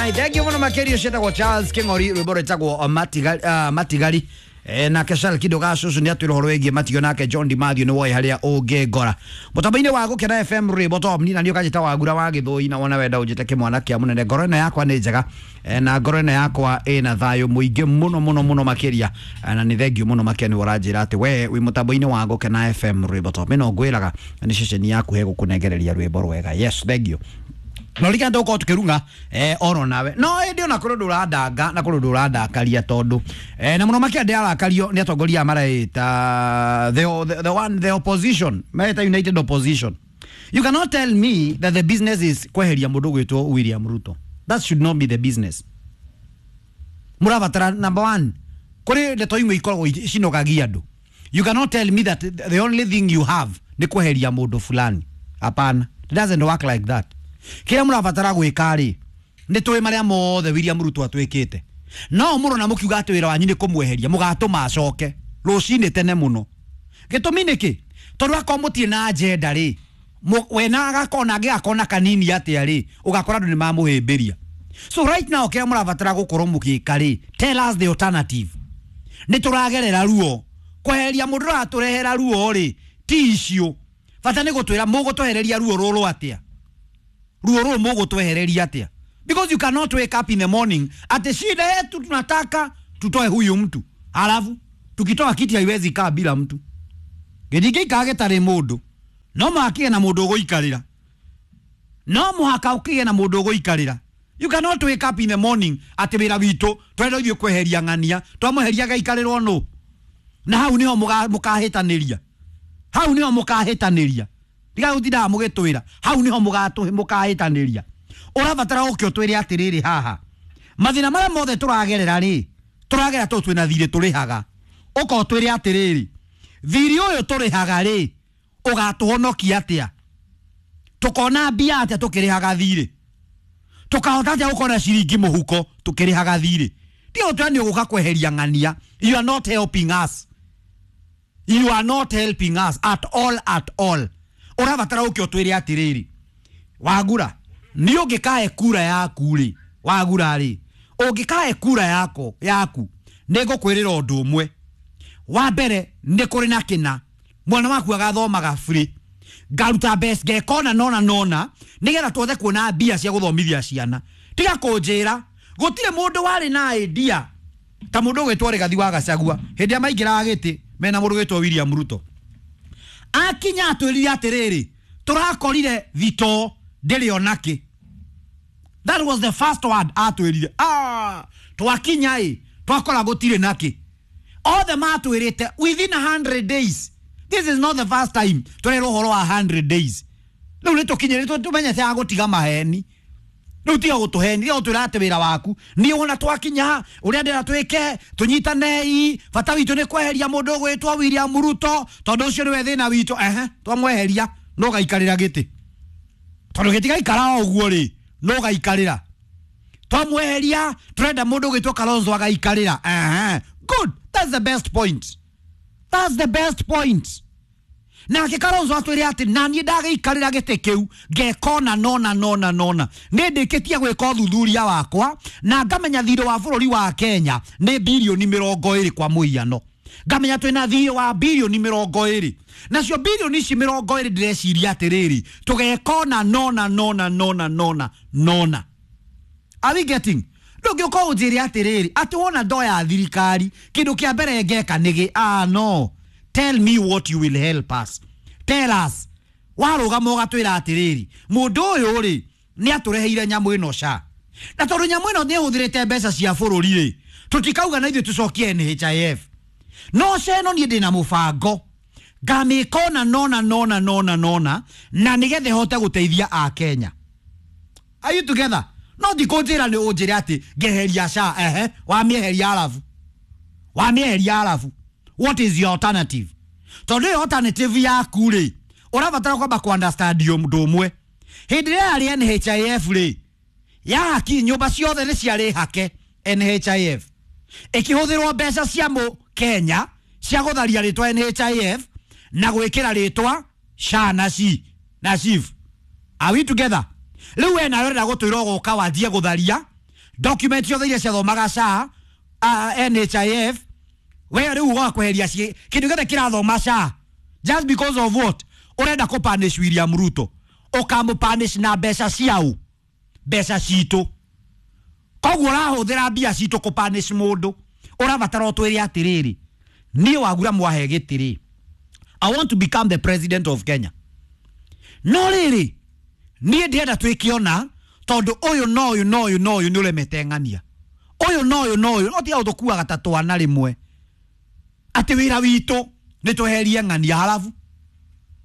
Alright, thank you muno makiria cietagwo Charles King'ori, rwimbo rwĩtagwo Matigari, Matigari. Nake Charles Kido Gacucu nĩ atwĩra ũhoro wĩgiĩ matigio, nake John Di Mathew nĩ woĩ harĩa ũngĩngora mũtambo-inĩ wa Gũkena FM rwĩmbo top ni na nĩ ũkanjĩta Wagura wa Gĩthũi, na wona wenda ũnjĩte kĩmwana kĩa mũnene. Ngoro ĩno yakwa nĩ njega, na ngoro ĩno yakwa ĩna thayũ mũingĩ mũno mũno mũno makĩria, na nĩ thengiũ mũno makĩria nĩ ũranjĩra atĩ we wĩ mũtambo-inĩ wa Gũkena FM rwĩmbo top. Ĩno ngwĩraga nĩ ceceni yaku hegũkũnengereria rwĩmbo rwega. Yes, thengiũ. No rika ndåkorwo tå oro nawe no ä ona kå rå ndå ũrandanga na kå rå ndå ũrandakaria tondå na må no makä ndä arakario nä atongoria maraita the one, the opposition maraita united opposition. You cannot tell me that the business is kweheria må ndå gwätwo William Ruto. That should not be the business. Mũrabatara number one kũrĩ ndeto imwe ikoragwo cinogagia andũ. You cannot tell me that the only thing you have nĩ kweheria mũndũ fulani. Hapana, it doesn't work like that. Kĩrĩa mũrabatara gwĩka rĩ, nĩ tũĩ marĩa mothe William Ruto atwĩkĩte, no mũrona mũkiuga atĩ wĩra wanyu nĩ kũmweheria, mũgatũma acoke rũcinĩ tene mũno. Gĩtũmi nĩkĩ? Tondũ akorwo mũtirĩ na agenda rĩ, we na agakona angĩgakona kanini atĩa rĩ, ũgakora andũ nĩ mamũhĩmbĩria. So right now kĩrĩa mũrabatara gũkorwo mũgĩka rĩ, tell us the alternative. Nĩ tũragerera ruo, kweheria mũndũ ũratũrehera ruo rĩ ti icio. Bata nĩ gũtwĩra mũgũtwehereria ruo rũrũ atĩa, ruo rũrũ mũgũtwehereria atĩa, because you cannot wake up in the morning ati shida yetu tunataka tutoe huyu mtu, halafu tukitoa kiti haiwezi kaa bila mtu. Gĩtingĩikara gĩtarĩ mũndũ, no mũhaka kĩgĩe na mũndũ ũgũikarĩra, no mũhaka ũkĩgĩe na mũndũ ũgũikarĩra. You cannot wake up in the morning atĩ wĩra witũ twenda ithuĩ kweheria ng'ania, twamweheria gaikarĩrwo nũ? Na hau niho mũkahĩtanĩria, hau niho mũkahĩtanĩria. Tiga gũtindaga mũgĩtwĩra hau niho mũkahĩtanĩria. Ũrabatara ũke ũtwĩre atĩrĩrĩ, haha mathĩna marĩa mothe tũragerera rĩ, tũragerera tondũ twĩna thirĩ tũrĩhaga. Ũka ũtwĩre atĩrĩrĩ, thirĩ ũyũ tũrĩhaga rĩ, ũgatũhonokia atĩa? Tũkona mbia atĩa tũkĩrĩhaga thirĩ? Tũkahota atĩa gũkorwo na ciringi mũhuko tũkĩrĩhaga thirĩ? Tiga gũtwĩra nĩ ũgũka kweheria ng'ania. You are not helping us, you are not helping us at all, at all. Ũrabatara ũke ũtwĩre atĩrĩrĩ, Wagura nĩ ũngĩkahe kura yaku rĩ, Wagura rĩ, ũngĩkahe kura yako yaku, nĩ ngũkwĩrĩra ũndũ ũmwe. Wa mbere, nĩ kũrĩ na kĩna mwana waku agathomaga free, ngaruta mbeca ngekona nona nona nĩgetha tuothe kuona mbia cia gũthomithia ciana. Tiga kũnjĩra gũtirĩ mũndũ warĩ na idea ta mũndũ ũgwĩtwo Rigathi wa Gachagua hĩndĩ ĩrĩa maingĩraga gĩtĩ mena mũndũ ũgwĩtwo William Ruto. Akinya atwĩrire atĩrĩrĩ, tũrakorire thitoo ndĩrĩ onakĩ. That was the first word atwĩrire. Twakinya ĩ twakora gũtirĩ nakĩ. Othe matwĩrĩte within 100 days. This is not the first time tũrerwo ũhoro wa 100 days. Rĩu nĩ tũkinyĩrĩte tũmenyete ya gũtiga maheni. Rĩu tiga gũtũheni, tiga gũtwĩra atĩ wĩra waku niĩ wona twakinya ũrĩa ndĩra twĩke tũnyitanei, bata witũ nĩ kweheria mũndũ ũgwĩtwo William Ruto tondũ ũcio nĩwe thĩna witũ. Ehe, twamweheria no gaikarĩra gĩtĩ, tondũ gĩtigaikara o ũguo rĩ, no gaikarĩra. Twamweheria tũrenda mũndũ ũgwĩtwo Kalonzo agaikarĩra. Ehe, good, that's the best point, that's the best point. Nake Kalonzo atwĩre atĩ na niĩ ndagĩikarĩra gĩtĩ kĩu ngekona nona nona nona, nĩ ndĩkĩtie gwĩka ũthuthuria wakwa na ngamenya thirĩ wa bũrũri wa Kenya nĩ birioni 20 kwa mũhiano, ngamenya twĩna thirĩ wa birioni 20, nacio birioni ici 20 ndĩreciria atĩrĩrĩ, tũgekona nona nona nona nona nona. Are we getting? Ndũngĩũka ũnjĩre atĩrĩrĩ atĩ wona ndoya thirikari kĩndũ kĩa mbere ngeka nĩgĩ. No, tell me what you will help us. Tell us. Warũgama ũgatwĩra atĩrĩrĩ, mũndũ ũyũ rĩ nĩ atũreheire nyamũ ĩno SHA, na tondũ nyamũ ĩno nĩ ĩhũthĩrĩte mbeca cia bũrũri rĩ, tũtikauga na ithuĩ tũcokie NHIF. No SHA ĩno niĩ ndĩna mũbango ngamĩka ona nona nona nona nona na nĩgetha ĩhote gũteithia Akenya. Are you together? No ndikũnjĩra nĩ ũnjĩre atĩ ngeheria SHA. Ehe, wamĩeheria arabu, wamĩeheria arabu, what is your alternative? Tondũ ĩyo alternative yaku rĩ, ũrabatara kwamba ku understand ũndũ ũmwe. Hĩndĩ ĩrĩa yarĩ NHIF rĩ, yahaki nyũmba ciothe nĩ ciarĩ hake NHIF, ĩkĩhũthĩrwo mbeca cia mũ Kenya cia gũtharia rĩtwa NHIF na gwĩkĩra rĩtwa SHA na SHI na SHIF. Are we together? Rĩu we nawe ũrenda gũtwĩra ũgoka wanjie gũtharia. Document ciothe iria ciathomaga SHA, NHIF, we rĩu ũgoka kweheria kĩndũ gĩothe kĩrathoma SHA just because of what? Ũrenda kũ punish William Ruto. Ũkamũ punish na mbeca ciao, mbeca citũ. Koguo ũrahũthĩra mbia citũ kũ punish mũndũ. Ũrabatara ũtwĩre atĩrĩrĩ, niĩ Wagura mwahe gĩtĩ rĩ, I want to become the president of Kenya. No rĩrĩ, niĩ ndĩrenda twĩke ũna tondũ ũyũ na ũyũ na ũyũ na ũyũ nĩ ũremete ng'ania, ũyũ na ũyũ na ũyũ, no tiga gũtũkuaga ta twana rĩmwe atĩ wĩra witũ nĩ tweherie ng'ania halafu